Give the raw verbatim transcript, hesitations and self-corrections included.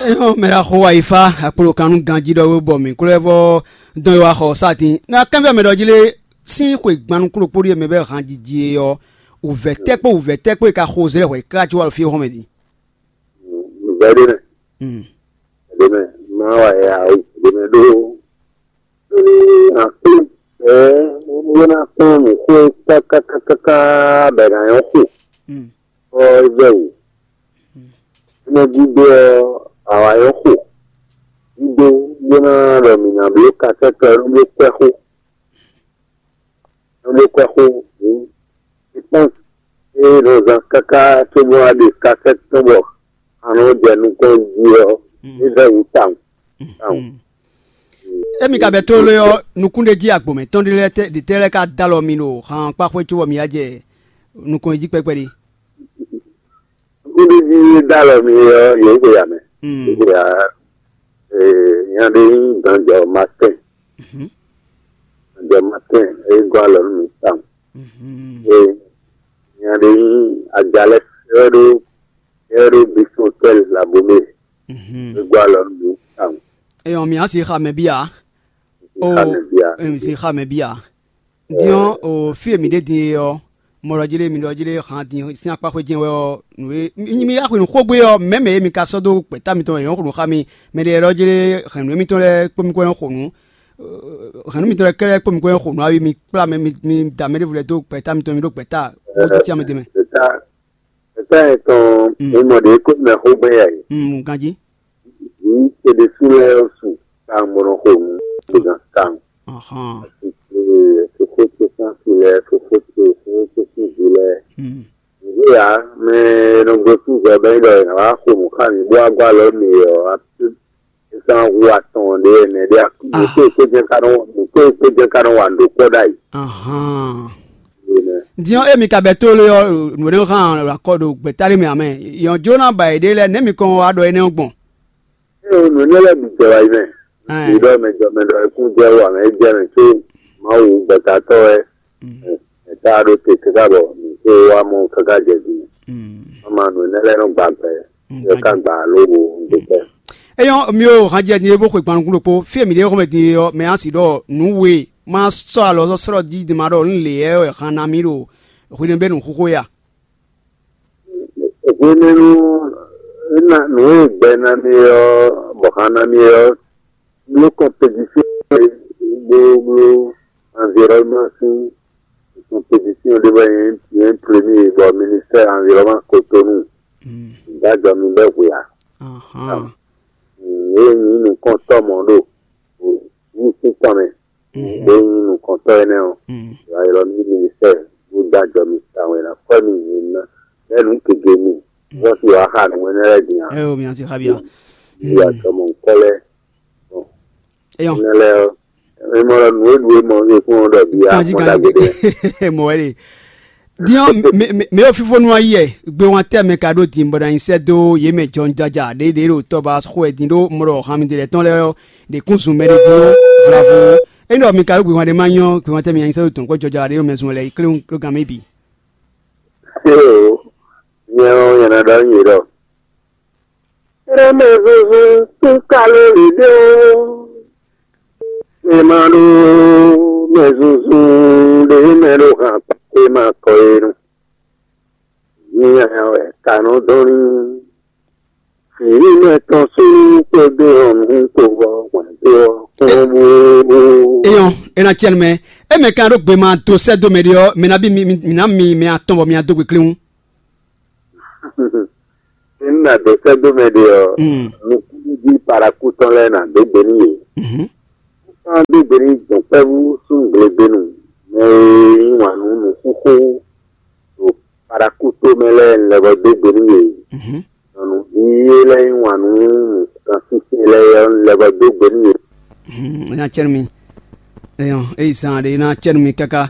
Ehɔn mɛ ɖaxó wa yi fa akpolo kan nú ganjí ɖɔ wé bɔ mǐ kúlɛ vɔ dɔn yi wa xɔ sátin. Na kɛnfɛ mɛ ɖɔ jí lé sín xwe gbannukúlo kpóɖí e mɛ bɛ han jiji e ɔ, wǔvɛ́ tɛ́ kpó wǔvɛ́ tɛ́ kpó e ka xo zlɛ́ hwɛ ká cí wa ɖo fí xɔmɛ din. Vɛ̌ ɖé mɛ, vɛ̌ ɖé mɛ, má wa ya o, vɛ̌ ɖé mɛ ɖó. Akpɔ́n, ɛɛ, bó ná kpɔ́n nǔxó e kákákáká bɔ è nǎ nyɔ́ xo, bɔ é vɛ́ wǔ. Énɛ́ gúdo ɔ́, awǎ nyɔ́ xo gúdo, bó ná ɖɔ mǐ ná bló kasɛ́tɔ ɔ́, nú bló kwɛ́ xó, nú bló kwɛ́ xó, hǔn, je pense, é nɔ zán káká cóbó ná ɖe kasɛ́tɔ tɔn bɔ a nɔ jɛ nukɔn jí ɔ́, é vɛ́ wǔ tawun. Émi ka bɛ tlóló ɔ́, nukún ɖé jí agbǒmɛ tɔn ɖé lɛ́ɛ tɛ́ ɖě tɛ́ lɛ́ɛ ka dó alɔ mi ɖo han kpá xwé cóbɔ mi wá jɛ nukɔn e jí kpɛ́kpɛ́ ɖe. Nukún ɖé jí dó alɔ mi ɔ́, yě xwe ya mɛ. Yě xwe ya, nya ɖé nyí Danjɔ Martin. Danjɔ Martin, é gɔ́ alɔ nú mi tawun. Ee, nya ɖé nyí Ajalɛ, é wɛ ɖó, é wɛ ɖó Bisɔn Tɛl Labome. É gɔ́ alɔ nú mi tawun. Eyɔn mi asi xa mɛ bia. O, Xamɛ bia. Em si xa mɛ bia. Diɔn o fi e mi ɖe din e ɔ, mɔ ɖɔ jí lé mi ɖɔ jí lé han din sín akpá xwé jɛn wɛ ɔ, nǔ e mi mi axwe nǔ xógbé ɔ, mɛ̌ mɛ e mi ka sɔ́ dó gbɛ̌ta mitɔn wɛ yɔ̌n xo nǔ xá mi. Mɛ ɖé ɖɔ jí lé hɛ̌nnu émítɔn lɛ́ɛ kpó mi kó nyɔ́ xo nǔ. Hɛ̌nnu mitɔn lɛ́ɛ kɛ́lɛ́ kpó mi kó nyɔ́ xo nǔ awi mi kplá mɛ mi mi da mɛ ɖěvo lɛ́ɛ dó gbɛ̌ta mitɔn mi ɖó gbɛ̌ta bó títí amɛ dé mɛ. Eta, eta etɔn, mi mɔ ɖě kó mɛ xó gbɛn yɛ. Ganjí. Vǐ ce ɖésú lɛ́ɛ ɔ́ su tawun bó nɔ xo nǔ bó zán tawun. Fofó ce sín asi lɛ́ɛ, fofó ce, fofó ce sín vǐ lɛ́ɛ. Vǐ ǎ, mɛ e nɔ gosín zɔ bɔ é ɖɔ è nǎ wá xo nǔ xá mǐ bó wá gɔ́ alɔ mǐ ɔ́, é sán hu atɔn ɖé ɛnɛ ɖé. Nǔ ko e kpé jɛ́n ka nɔ, nǔ ko e kpé jɛ́n ka nɔ wa nǔ ɖó kpɔ́ ɖ'ayǐ. Din ɔ́, émi ka bɛ́ tólo ɔ́, nǔ e nɔ hán akɔ ɖo gbɛ̌ta ɖé mɛ ǎ mɛ. Yɔn jló ná ba yěɖée lɛ́ɛ, nɛ̌ mi kɔn wá ɖɔ énɛ́ ɔ́ gbɔn? Ée nǔ énɛ́ lɛ́ɛ bǐ jɛ wá yi mɛ. Ɖi ɖɔ mɛ jɔ mɛ ɖɔ é kún jɛ wú ǎ mɛ, é jɛ mɛ có Mawu gbɛ̌tatɔ́ wɛ. Mɛ tá a ɖó te káká bɔ mǐ kó wá mɔ káká jɛ din. Má ma nǔ énɛ́ lɛ́ɛ nɔ gba gbɛ, yɔ ká gba alo wo ŋgbe kpɛ́. Eyɔ́ mi o han jɛ din e bó xwe gban nukún ɖokpó, fí e mǐ ɖe xɔmɛ din e ɔ́, mɛ a sì ɖɔ nǔ we ma sɔ́ alɔ sɔ́ slɔ́ jí din ma ɖɔ nǔ lě wɛ han ná mì ɖo hwenɛ́bɛ́nu xóxó ya. Hwenɛ́nu nǔ e gbɛ ná mì ɔ́, bɔ han ná mì ɔ́, bló kɔnpedisɔn e bló bló anvirɔnman sín kɔnpedisɔn ɖé bɔ nyɛ nyɛ plé mì bɔ ministère anvirɔnman Kotonu ɖó ajɔ mi bɛ hwe ǎ. Ée nyí nukɔntɔ́ mɔ̌ ɖo wǔ sín tɔn mɛ, bó nyí nukɔntɔ́ énɛ́ ɔ́, wǎ ylɔ́ mì ministère bó dó ajɔ mi tawun e ná kɔ́ mi nyǐ ná bɛ́ nǔ gěgé mi, vɔ́ sí wǎ xa nǔ énɛ́ lɛ́ɛ din ǎ. Ɛ o mi asi xa bia. Yí atɔmɔ ŋkɔ lɛ́ɛ. Eyɔn. Énɛ́ lɛ́ɛ ɔ́, é mɔ ɖɔ nǔ e ɖu é mɔ é kún ɔ́ ɖɔ bia Kanji mɔ kanji ɖagbe ɖé. Mɔ wɛ ɖe. Diɔ mɛ o fífó nú ayi yɛ gbé wan tɛ mɛ ka ɖó din bɔ na nyi sɛ dó yé mɛ jɔn jaja ɖé ɖé ɖo tɔba xó ɛ din ɖó mɔ ɖɔ han mi ɖe lɛ tɔn lɛ ɔ́ ɖe kún zun mɛ ɖé din ɔ́ vlavo. Ényí ɖɔ mi ka ɖó gbé wan ɖé ma nyɔ gbé wan tɛ mi nyi sɛ dó dɔn kó jɔja ɖé ɖo mɛ zun lɛ yi klé ɖo gan mɛ bǐ. Nyɛ ɔ́ nyɛ ná ɖɔ nyi ɖɔ. Eme zozo kún kalóli ɖé ó. Mi ma ɖó mɛ zunzun ɖé mɛ ɖo han kpakpé ma kɔ é nu. Nyanya wɛ ka nɔ dɔn ní. Fǐ mɛ tɔn súnnu kpódó ɔnu kpó ɔ́ hwɛ̌ndó ɔ́ kpɔ́n bó. Eyɔn, é ná cɛ́ nu mɛ. É mɛ ka ɖó gbe ma dó sɛ́ dó mɛ ɖé ɔ́, mɛ ná bí mi mi ná mi mɛ atɔn bɔ mi ná dó gbe kléwún. Ényí nǎ dó sɛ́ dó mɛ ɖé ɔ́, nukúnnú jí parakú tɔn lɛ́ɛ nǎ dó gbe nú yě. Kán dó gbe nú dɔ̌nkpɛ́vú súnnu glegbenu, mɛ e yí wǎn nú nǔxúxú ɖo parakú tó mɛ lɛ́ɛ un lɛ́ vɔ́ dó gbe nú yě. Nyɔ̌nuví e lɛ́ yí wǎn nú nǔkansínsɛ́n lɛ́ɛ ɔ́, un lɛ́ vɔ́ dó gbe nú yě. Nya cɛ́ nú mi. Eyɔn, é yi zan ɖé ná cɛ́ nú mi káká.